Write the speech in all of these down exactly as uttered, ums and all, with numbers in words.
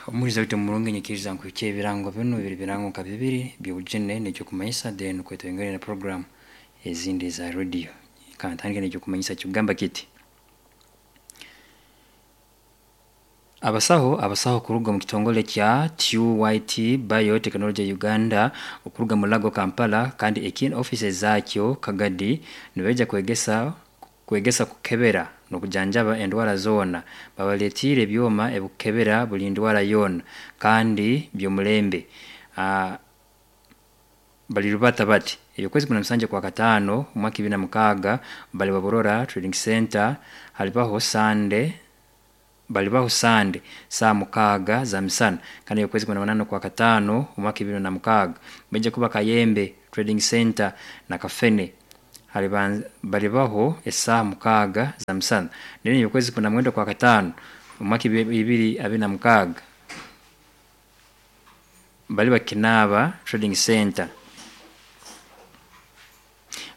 Omuhuriza waitu omurungi, nyikiriza nkuhikye ebirango binu biri birango nka bibiri by'obujune n'ekyokumanyisa, then kwetweyongere na program ezindi eza radio. Kantandike n'ekyokumanyisa kikugamba kiti: Abasaho abasaho kuruga omu kitongole kya T Y T Biotechnology Uganda okuruga Mulago, Kampala, kandi ekiine ofiisi ezaakyo Kagadi, nibaija kwegesa kwegesa kukebera n'okujanjaba endwara zoona. Babaletiire ebyoma ebikukebera buli ndwara yoona kandi by'omulembe. uh, bali rubata bati okwezi kumi na musanju kwa kataano omwaka ibiri na mukaaga bali Baburora Trading Center. Halibaho Sande, balibaho Sande saa mukaaga za misana. Kandi okwezi kumi na munaana kwa kataano omwaka ibiri na mukaaga baija kuba Kayembe Trading Center na Kafene, balibaho esaaha mukaaga za misana. Then okwezi kumi na mwenda kwa kataano omwaka ibiri abiri na mukaaga baliba Kinaaba Trading Center,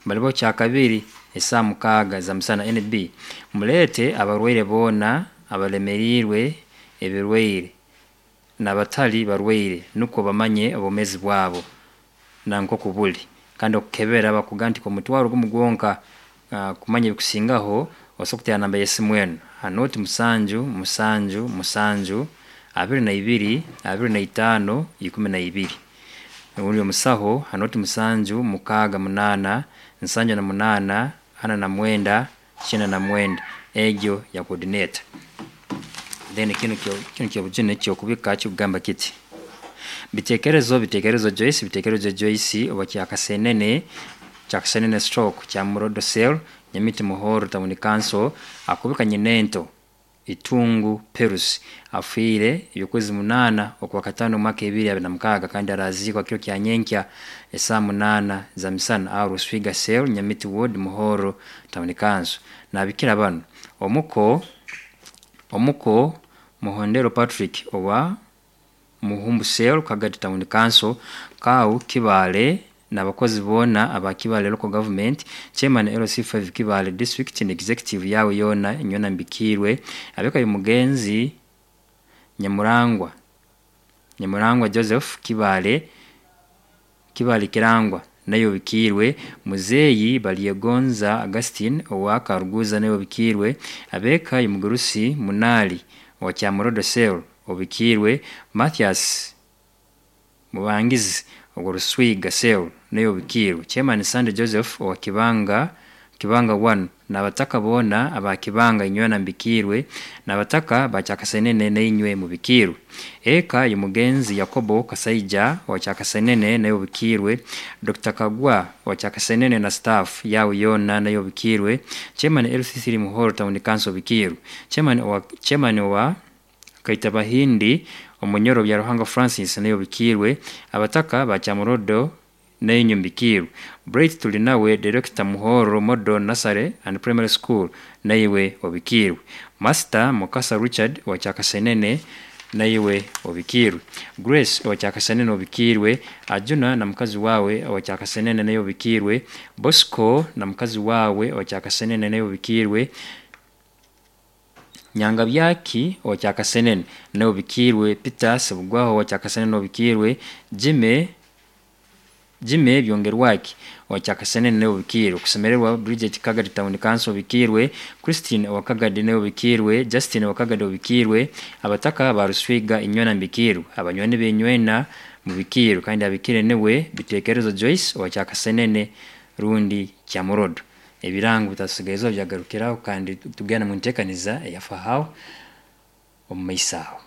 balibaho Kyakabiri esaaha mukaaga za misana. N B muleete abarwaire boona, abalemeriirwe ebirwaire n'abatali barwaire, nukwo bamanye obwomeezi bwabo nankoku buli. Kandi okukebera bakugamba nti omutwaro gumu gwonka. Kumanya ebikusingaho osobola kuteera namba y'esimu enu ha nooti musanju musanju musanju abiri na ibiri abiri na itaano ikumi na ibiri, rundi omusaho ha nooti musanju mukaaga munaana nsanju na munaana ana na mwenda kyenda na mwenda, egyo ya coordinator. Then kinu kinu kyobujune kyokubika kikugamba kiti: Bitekerezo Bitekerezo Joyce, Bitekerezo Joyce owa Kyakasenene, Kyakasenene stroke Kyamurodo Cell, Nyamiti, Muhoro Town Council, akubika nyinento Itungu Perus afiire ebyokwezi munaana okwa kataano omwaka ebiri abiri na mukaaga, kandi araziikwa kiro kya nyenkya esaaha munaana za misana aho Ruswiga Cell, Nyamiti Ward, Muhoro Town Council. Nabikira banu: omuko omuko Muhondero Patrick owa Muhumbu Cell, Kagadi Town Council, Kau Kibaale n'abakozi boona aba Kibaale Local Government, Chairman L C five Kibaale District and executive yawe yoona inywena mbikiirwe. Abeka mugenzi Nyamurangwa, Nyamurangwa Joseph, Kibaale, Kibaale Kirangwa nayo bikiirwe. Muzeeyi Balyegonza Augustine owa Karuguza nayo bikiirwe. Abeka Mugurusi Munali owa Kyamurodo Cell obikiirwe. Mathias Mubangizi owa Ruswiga Cell nayo obikiirwe. Chairman Sande Joseph owa Kibanga, Kibanga one, n'abataka boona aba Kibanga inywena mbikiirwe, n'abataka ba Kyakasenene nainywe mubikiirwe. Eka y'omugenzi Yakobo Kasaija owa Kyakasenene nayo obikiirwe. Doctor Kagwa owa Kyakasenene na staff yawe yoona nayo obikiirwe. Chairman L C three Muhoro Town Council obikiirwe. Chairman owa chairman owa Kaitabahindi Omunyoro Byaruhanga Francis nayo obikiirwe. Abataka ba Kyamurodo nainywe mbikiirwe. Bright Tulinawe, Director Muhoro Model Nursery and Primary School, naiwe obikiirwe. Master Mukasa Richard owa Kyakasenene naiwe obikiirwe. Grace owa Kyakasenene obikiirwe. Ajuna na mukazi wawe owa Kyakasenene naye obikiirwe. Bosco na mukazi wawe owa Kyakasenene naye obikiirwe. Nyangabyaki owa Kyakasenene nawe obikiirwe. Peter Sebugwaho owa Kyakasenene obikiirwe. Jime Jime Byongerwaki owa Kyakasenene nawe obikiirwe. Kusemererwa Bridget, Kagadi Town Council obikiirwe. Christine owa Kagadi nawe obikiirwe. Justin owa Kagadi obikiirwe. Abataka ba Ruswiga inywena mbikiirwe. Abanywani benywena mubikiirwe. Kandi abikire niwe Bitekerezo Joyce owa Kyakasenene rundi Kyamurodo. Ebirango bitasigaizwa byagarukiraho, kandi tugenda mu nteekaniza eyafahaho omu maiso aho.